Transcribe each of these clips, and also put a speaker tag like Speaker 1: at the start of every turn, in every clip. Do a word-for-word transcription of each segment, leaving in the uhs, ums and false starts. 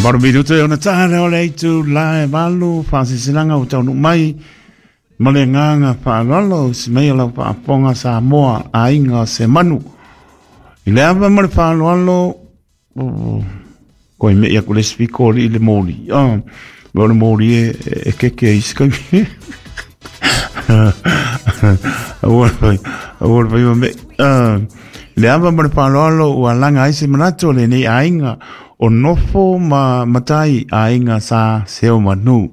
Speaker 1: Maro minuto e ona taha o le aitu la e valu whaasisilanga o taunu mai ma le nganga whaalalo si mei o lau whaaponga Samoa a inga se manu. I le ava ma le whaaloalo koe me ia ko le spiko li le moli. Ah, me o le moli e, e keke e isi kai. Aua pai, aua pai ma me. Ah, le ava ma le whaaloalo ua langa ai se manato le nei ainga o nofo ma matai ainga sa seo manu.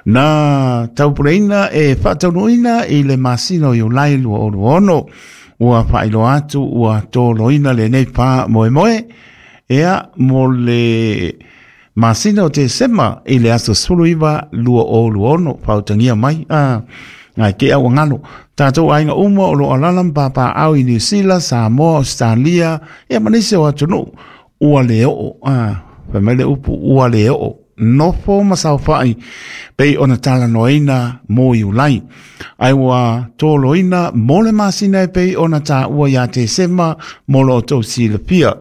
Speaker 1: Na taupureina e whaataunuina i le masina o Iulai lua olu ono. Ua whailoa atu ua tōloina le nei pā moe moe. Ea mo le masina o te sema i le aso sulu iwa lua olu ono. Whautangia mai. Ah, ngai ke au ngalo. Tātou ainga uma o lo alala mpapa au i New Zealand, Samoa, Australia, ea manise o atunu. Ua le o, ah, whamele upu ua le o. Nofo masawhai pei ona tala noina mo Iulai. Ai ua tōloina mo le masina e pei ona tā ua ia te sema mo lo tau silapia.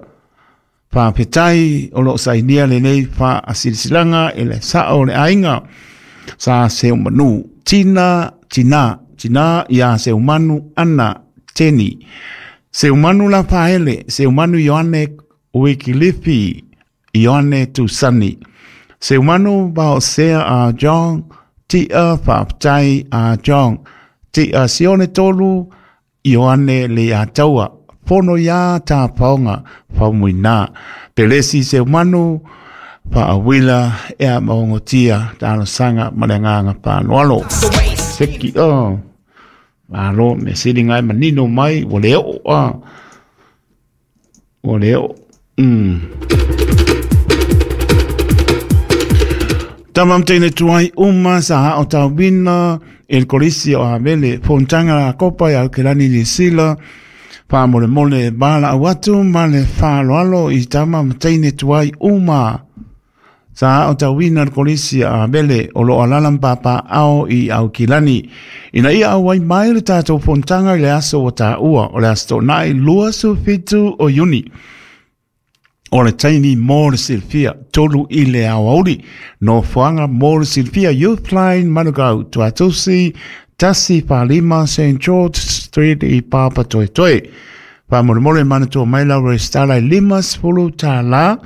Speaker 1: Whāpetai o lo sainia le nei wha asilisilanga e le sao le ainga. Sa se manu tina, tina, tina ia se manu ana teni. Se manu la whaele, se manu Ioane Wikilipi, Ioane Tusani. Se manu bao sea a John, tia whaptai a John, tia sione tolu, Ioane le ataua, pono ia tā paonga, whaumuina. Pelesi se manu, whaawila ea maongotia, tāno sanga malenganga pānoalo. Seki, oh, alo, me siri ngai manino mai, wale o, ah, wale o, mm. Tamam teine tuai uma sa hao tauwina el kolisi o Havele fontanga la kopa ya Kelani New Zealand wha mole mole bala awatu ma le whaaloalo i tamam teine tuai uma sa hao tauwina el kolisi o Havele o lo alala mpapa ao i Aukilani ina ia au wai mai le tātou fontanga i le aso o tāua o le aso tōnai lua sufitu o Iuni. O le taini mo le silfia, tolu i le awauri. No fuanga mo le silfia Youth Line Manukau, Tuatusi, Tasi Palima, Saint George Street i Papa Toi Toi. Wha more manatua mai lau restala i lima sifulu tā la.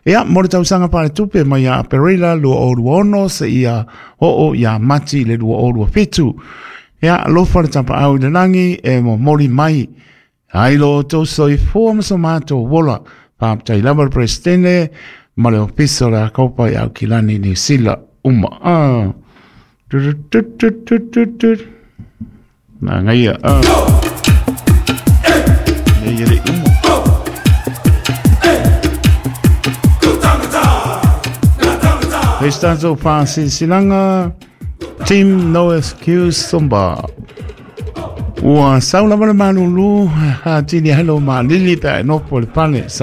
Speaker 1: Ea, mo le tausanga pare tupe mai a Perila lua o lua ono se ia hoo ia mati le lua o lua fitu. Ea, alofa le tapa au i le langi e mo mori mai. Ai lo tau soifua maso mātou wola. Whaptai lava le presidente ma le ofiso la kopa i Aukilani New Zealand uma. Ah. Tu tu tu tu tu tu. Nā ngai ah. Nei ele uma. Heistanzo whaasisilanga Team No Excuse Somba. Ua saula wale malulu ha tini hello ma lili pe no po le pale.